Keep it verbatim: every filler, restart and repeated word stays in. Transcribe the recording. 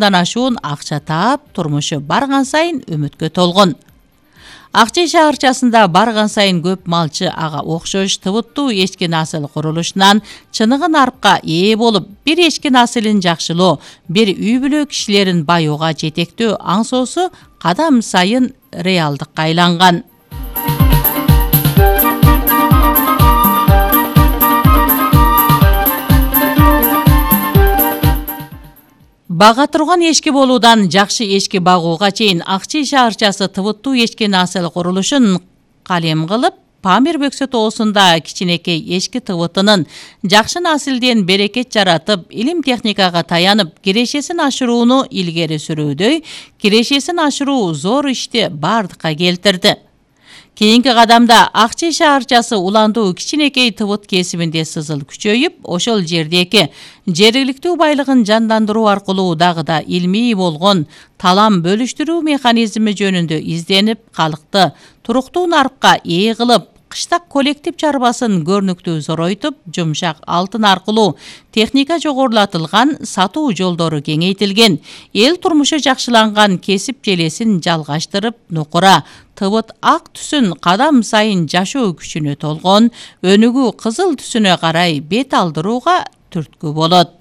ашуун акча таап, турмушу барган сайын үмүткө толгон. Акчай шаарчасында барган сайын көп малчы ага окшош тыбыттуу эчки насыл курулушунан чыныгы нарыкка ээ болуп, бир эчки насылын жакшылоо, бир үй бүлө кишилерин баюуга жетектөө аңсоосу кадам сайын реалдыкка айланган. Бага турган эчки болуудан жакшы эчки багууга чейин Акчай шаарчасы тыбыттуу эчки насыл курулушун калем кылып, Памир Бөксө тоосунда кичинекей эчки тыбытынын жакшы насилден берекет жаратып, илим техникага таянып, кирешесин ашырууну илгери сүрүүдөй, кирешесин ашыруу зор ишти бардыкка келтирди. Кийинки кадамда Акчай шаарчасы уландуу кичинекей тыбыт кесибинде сызыл күчөйүп, ошол жердеги жергиликтүү байлыгын жандандыруу аркылуу дагы да илмий болгон талам бөлүштүрүү механизми жөнүндө изденип, калкты туруктуу нарыкка ээ кылып, кыштак коллектив чарбасын көрнүктүү зоройтуп, жумшак алтын аркылуу техника жогорулатылган, сатуу жолдору кеңейтилген, эл турмушу жакшыланган кесип желесин жалгаштырып, нукура тыбыт ак түсүн кадам сайын жашоо күчүнө толгон, өнүгүү кызыл түсүнө карай бет алдырууга түрткү болот.